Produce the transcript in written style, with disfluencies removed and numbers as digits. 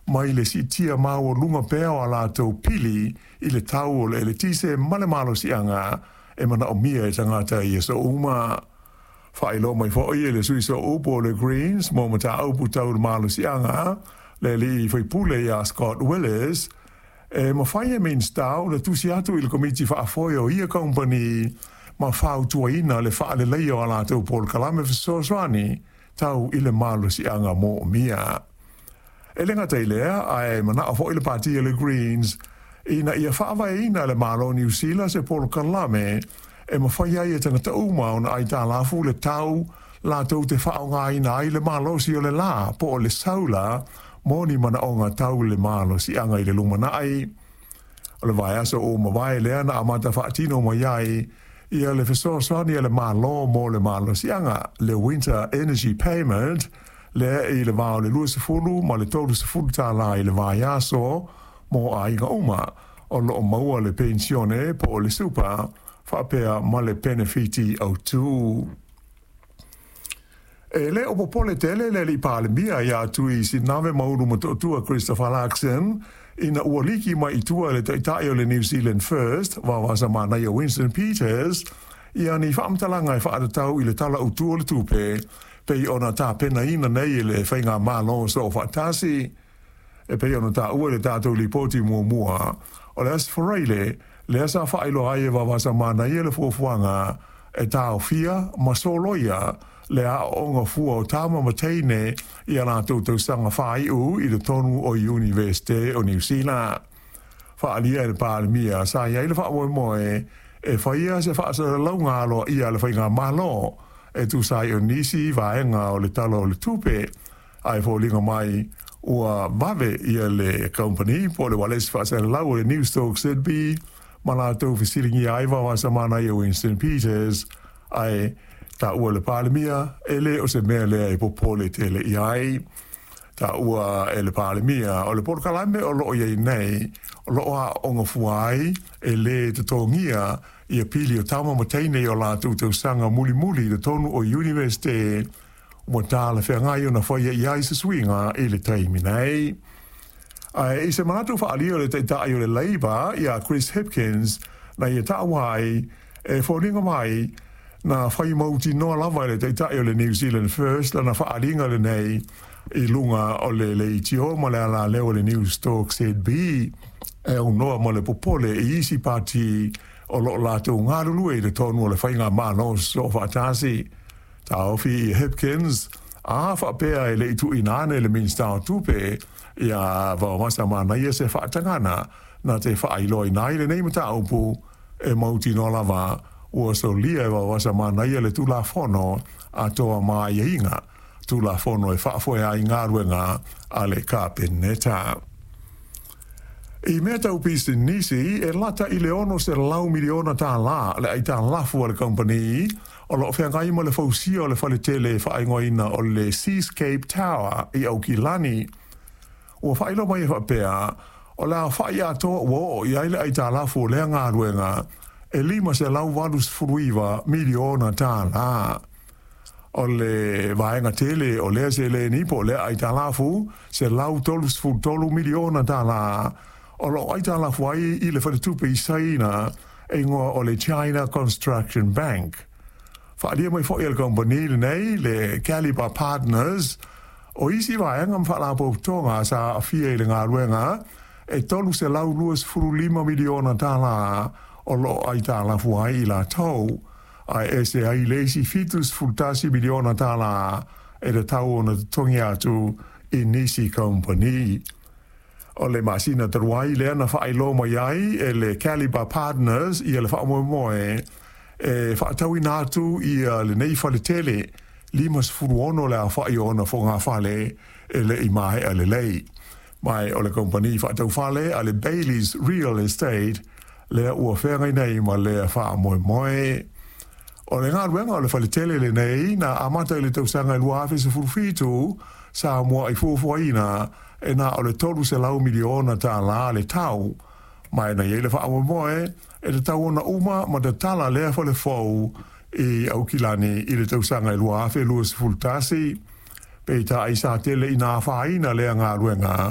mai le siitia maualuga pea o a latou pili i le tau o le eletise ma le malosiaga e manaomia e tagata i aso uma. Faailoa mai foi e le sui sooupu o le Greens mo mataupu tau le malosiaga, le alii faipule ia Scott Willis, e mafai e Minisita ona tusi atu i le Komiti Faafoe o ia kamupani ma fautuaina le faaleleia o a latou polokalame fesoasoani tau i le malosiaga moomia. E le gata i lea, ae manao foi le pati a le Greens ina ia faavaeina e le Malo o Niu Sila se polokalame e mafai ai e tagata uma ona aitalafu le tau latou te faaaogaina ai le malosi o le la po o le saula mo ni manaoga tau le malosiaga i le lumanai. O le vaiaso ua mavae lea na amata faatino mai ai ia le fesoasoani a le Malo mo le malosiaga, le Winter Energy Payment, lea i le va o le 20 ma le 30 tālā i le vaiaso mo aiga uma o lo o maua le penisione po o le super faapea ma le penefiti autu. E le o popole tele le alii Palemia ia Tui Sinave Maulu Motootua Christopher Luxon ina ua liki mai i tua le taitai o le New Zealand First, Vaovasamanaia Winston Peters, ia ni faamatalaga e faatatau i le Tala Autu o le Tupe pei ona tapenaina nei e le Faigamalo Soofaatasi. E pei ona taua i le tatou lipoti muamua o le Aso Faraile, lea sa faailoa ai e Vaovasamanaia le fuafuaga e taofia ma soloia le aooga fua o tama ma teine i a latou tausaga faaiu i totonu o Iunivesite o Niu Sila. Faaalia e le Palemia sa i ai le faamoemoe e faia se faasalalauga aloaia a le Faigamalo e tusa ai o nisi vaega o le Tala o le Tupe, ae foliga mai ua vave ia le kamupani po o le ualesi faasalalau o le Newstalk ZB ma latou fesiligia ai Vaovasamanaia Winston Peters, ae taua e le Palemia e le o se mea lea e popole tele i ai. Taua e le Palemia o le polokalame o lo o i ai nei o lo o aooga fua ai e lē totogia ia pili o tama ma teine i o latou tausaga mulimuli i totonu o Iunivesite ua talafeagai ona faia i ai se suiga i le taimi nei. Ae i se manatu faaalia o le Taitai o le Labour ia Chris Hipkins na ia taua ai, e foliga mai, na fai mautinoa lava e le Taitai o le New Zealand First lana faaaliga lenei i luga o le leitio ma le alaleo o le Newstalk ZB e aunoa ma le popole i isi pati o lo o latou galulue i totonu o le Faigamalo Soofaatasi. Taofi i Hipkins, a faapea e le i tuuina ane le Minisita o Tupe ia Vaovasamanaia se faatagana na te faailoaina ai lenei mataupu, e mautinoa lava ua solia e Vaovasamanaia le Tulafono atoa ma aiaiga, Tulafono e faafoe ai galuega a le Kapeneta. I mea tau pisinisi, e lata i le $600 miliona tālā le aitalafu a le kamupani o lo o feagai ma le fausia o le faletele e faaigoaina o le Seascape Tower i Aukilani. Ua faailoa mai e faapea, o le aofai atoa ua oo i ai le aitalafu o lea galuega e $589 miliona tālā. O le vaega tele o lea seleni po o lea aitalafu, $133 miliona tālā, o lo o aitalafu ai i le faletupe i Saina e igoa o le China Construction Bank. Faaalia mai foi e le kamupani lenei, le Calibre Partners, o isi vaega ma faalapotopotoga sa aafia i le galuega e $325 miliona tālā o lo o aitalafu ai i latou, ae ese ai le isi $71 miliona tālā e tatau ona totogi atu i nisi kamupani. O le masina talu ai lea na faailoa mai ai e le Calibre Partners ia le faamoemoe e faatauina atu ia lenei faletele 56 le aofai o ona fogafale e le i maea lelei. Ma o le kamupani faataufale a le Bayleys Real Estate lea ua feagai nei ma lea faamoemoe. O le galuega o le faletele lenei na amata i le tausaga e 2017, sa muai fuafuaina e na o le $300 miliona tālā le tau, ma e na i ai le faamoemoe e tatau ona uma ma tatala lea fale fou i Aukilani i le tausaga e 2021. Peitai sa tele ina afaina lea galuega.